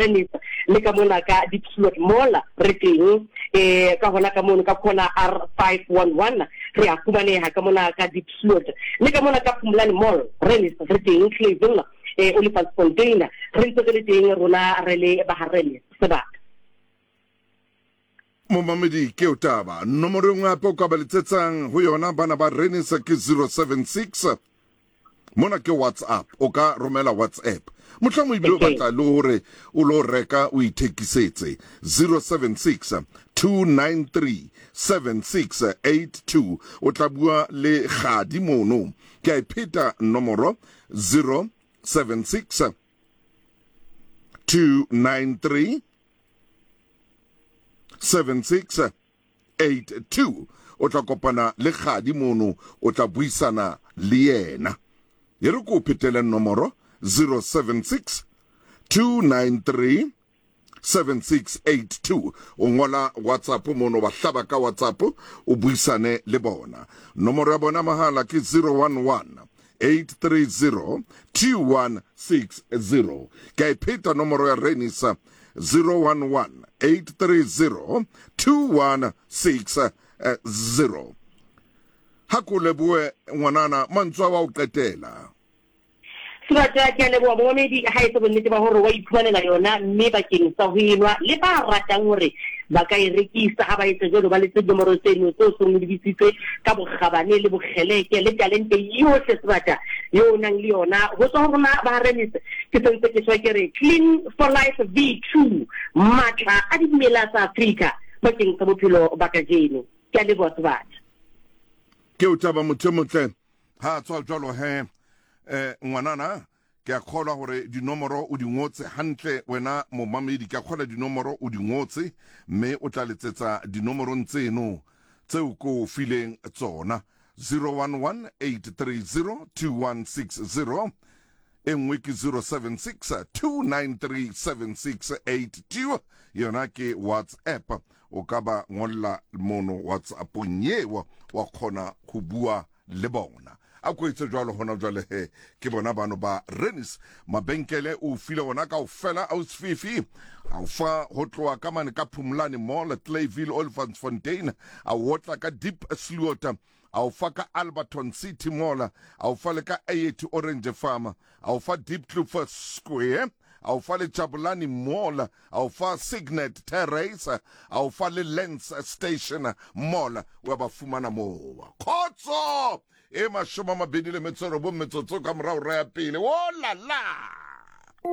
Rennis le ka mona ka Diepsloot Mall re teng eh ka hona ka mono ka corner R511 re a fumaneha ka mona ka Diepsloot le ka mona ka Phumlani Mall Rennis re teng Clayville eh Olifantsfontein re ntse re le teng rona re le ba ha Rennis sebaka. Momamedi ke o taba. Nomoro e nngwe hape o ka ba letsetsang ho yona bana ba Renisa ke 076. Mona ke WhatsApp, o ka romela WhatsApp. Mohlomong ebile o batla le hore o lo reka o ithekisetse. 076 293 7682. O tla bua le Kgadi mono. Ke a e pheta nomoro 076 293 7682 o tla kopana le Kgadi mono, o tla buisana le yena. E re ko o phetele nomoro 076 293 7682. O ngola WhatsApp mono, ba hlaba ka WhatsApp, o buisane le bona. Nomoro ya bona mahala ke 011 830 2160. Ke a e pheta nomoro ya Renisa 011 830 2160. Ha ko leboe ngwanana mantswe a wa o qetela. Sebata, ke a leboha momamedi ha etse bonnete ba hore wa iphumanela yona mme bakeng sa ho enwa le ba ratang hore ba ka e rekisa ha ba etse jwalo ba letse dinomoro tseno tseo seng o lebisitse ka bokgabane le bokgeleke le talente yohle sebata yo o nang le yona ho tswa ho rona ba Remis ke sentse ke shwa ke re Clean for Life V2 matla a dimela tsa Afrika bakeng sa bophelo ba kajeno. Ke a leboha sebata. Ke o taba motho e motle. Ha tswa jwalo he eh ngwanana ke a kgolwa hore dinomoro o di ngotse hantle wena momamedi, ke a kgolwa dinomoro o di ngotse mme o tla letsetsa dinomorong tseno tseo ko o fileng tsona 0118302160 e nngwe ke 0762937682 yona ke WhatsApp. O ka ba ngolla mono WhatsAppong yeo wa kgona go bua le bona. A ko etse jwalo hona jwale he ke bona bano ba Renis. Mabenkele o file ona kaofela Ausfifi a o fa ho tloha ka mane ka Phumlani Mall, Clayville, Olifantsfontein, a o otla ka Deep Sluota, a o fa ka Alberton City Mall, a o fa le ka Ayethu Orange Farm, a o fa Diepkloof Square, a o fa le Jabulani Mall, a o fa Signet Terrace, a o fa le Lens Station Mall, wa ba fumana moo. Khotso e 29 metsotso ka morago ra ya pele. O la la!